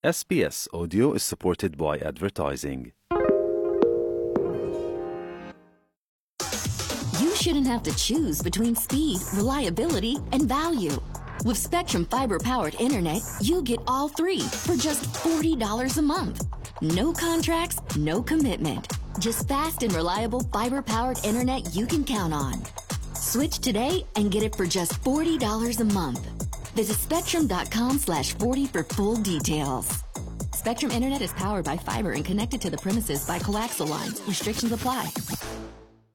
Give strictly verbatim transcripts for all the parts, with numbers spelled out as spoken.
S B S Audio is supported by advertising. You shouldn't have to choose between speed, reliability, and value. With Spectrum Fiber-powered internet, you get all three for just forty dollars a month. No contracts, no commitment. Just fast and reliable fiber-powered internet you can count on. Switch today and get it for just forty dollars a month. Visit spectrum.com slash 40 for full details. Spectrum Internet is powered by fiber and connected to the premises by coaxial lines. Restrictions apply.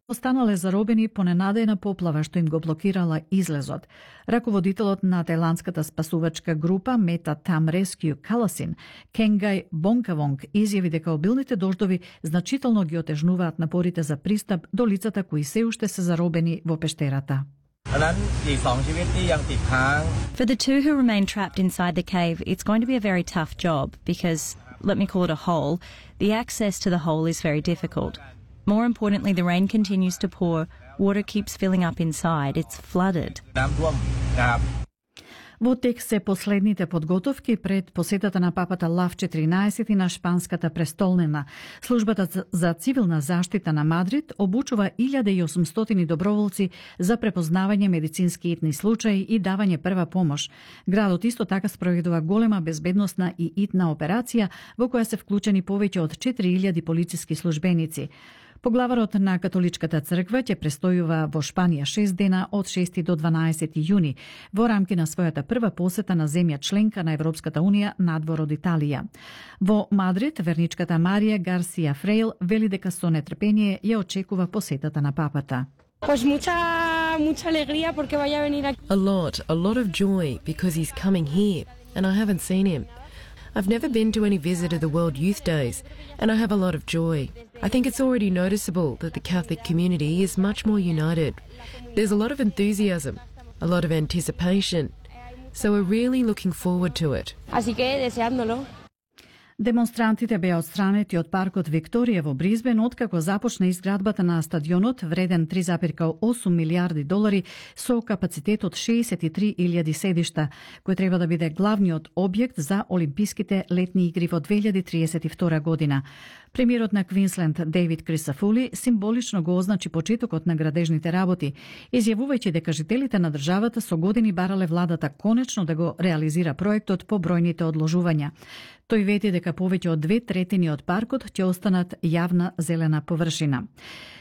Останале заробени по ненадејна поплава што им го блокирала излезот. Раководителот на тајландската спасувачка група Мета Там Rescue Каласин, Кенгај Бонкавонг, изјави дека обилните дождови значително ги отежнуваат напорите за пристап до лицата кои се уште се заробени во пештерата. For the two who remain trapped inside the cave, it's going to be a very tough job because, let me call it a hole, the access to the hole is very difficult. More importantly, the rain continues to pour, water keeps filling up inside, it's flooded. Во тек се последните подготовки пред посетата на папата Лав четиринаесет на шпанската престолнина. Службата за цивилна заштита на Мадрид обучува илјада и осумстотини доброволци за препознавање медицински итни случаи и давање прва помош. Градот исто така спроведува голема безбедносна и итна операција во која се вклучени повеќе од четири илјади полициски службеници. Поглаварот на католичката црква ќе престојува во Шпанија шест дена од шести до дванаесети јуни во рамки на својата прва посета на земја членка на Европската унија надвор од Италија. Во Мадрид верничката Марија Гарсија Фрейл вели дека со нетрпение ја очекува посетата на папата. Pues mucha mucha alegría porque vaya a venir aquí. A lot, a lot of joy because he's coming here and I haven't seen him. I've never been to any visit of the World Youth Days, and I have a lot of joy. I think it's already noticeable that the Catholic community is much more united. There's a lot of enthusiasm, a lot of anticipation, so we're really looking forward to it. Así que deseándolo. Демонстрантите беа отстранети од паркот Викторија во Бризбен откако започна изградбата на стадионот вреден три зарез и осум милијарди долари со капацитет од шеесет и три илјади седишта, кој треба да биде главниот објект за Олимписките летни игри во две илјади триесет и втора година. Премиерот на Квинсленд Дейвид Крисафули символично го означи почетокот на градежните работи, изјавувајќи дека жителите на државата со години барале владата конечно да го реализира проектот по бројните одложувања. Тој вети дека повеќе од две третини од паркот ќе останат јавна зелена површина.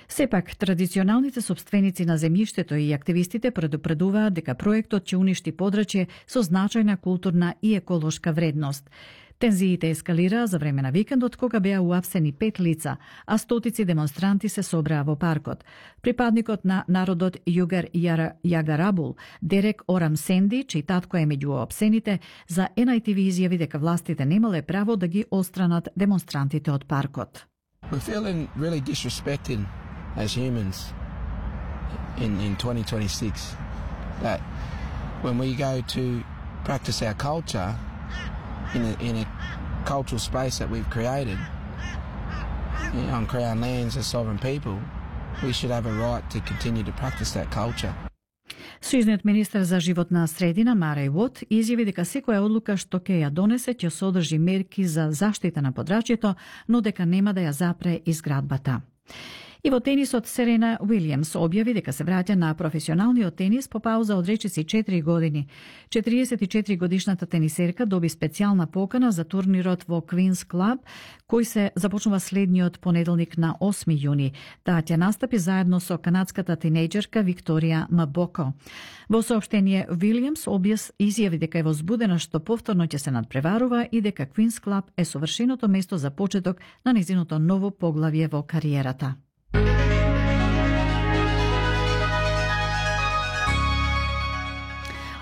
Сепак, традиционалните собственици на земјиштето и активистите предупредуваат дека проектот ќе уништи подрачје со значајна културна и еколошка вредност. Тензиите ескалираа за време на викендот кога беа уапсени пет лица, а стотици демонстранти се собраа во паркот. Припадникот на народот Југар Јагарабул, Дерек Орам Сенди, чиј татко е меѓу уапсените, за Ен Ај Ти Ви изјави дека властите немале право да ги отстранат демонстрантите од паркот. We're feeling really disrespected as humans in, in twenty twenty-six. That when we go to practice our culture in a, in a cultural space that we've created, you know, on Crown lands as sovereign people, we should have a right to continue to practice that culture. Сојузниот министер за животна средина Мареј Вот изјави дека секоја одлука што ќе ја донесе ќе содржи мерки за заштита на подрачјето, но дека нема да ја запре изградбата. И во тенисот Серена Уилјамс објави дека се враќа на професионалниот тенис по пауза од речиси четири години. четириесет и четири годишната тенисерка доби специјална покана за турнирот во Queen's Club, кој се започнува следниот понеделник на осми јуни. Таа ќе настапи заедно со канадската тинејџерка Викторија Мабоко. Во соопштение, Уилјамс објас изјави дека е возбудена што повторно ќе се надпреварува и дека Queen's Club е совршеното место за почеток на нејзиното ново поглавје во кариерата.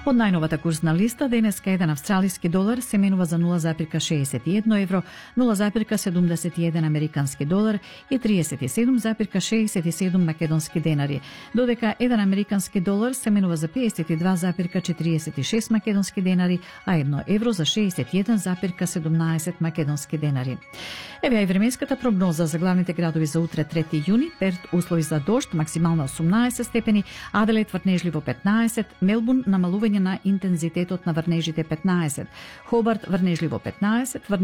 Од најновата курсна листа, денеска еден австралиски долар се менува за нула зарез шеесет и едно евро, нула зарез седумдесет и еден американски долар и триесет и седум зарез шеесет и седум македонски денари, додека еден американски долар се менува за пеесет и два зарез четириесет и шест македонски денари, а едно евро за шеесет и еден зарез седумнаесет македонски денари. Еве и временската прогноза за главните градови за утре трети јуни: Перт услови за дожд, максимално осумнаесет степени, Аделаид врнежливо петнаесет, Мелбурн намалување намалување на интензитетот на врнежите петнаесет, Хобарт врнежливо петнаесет,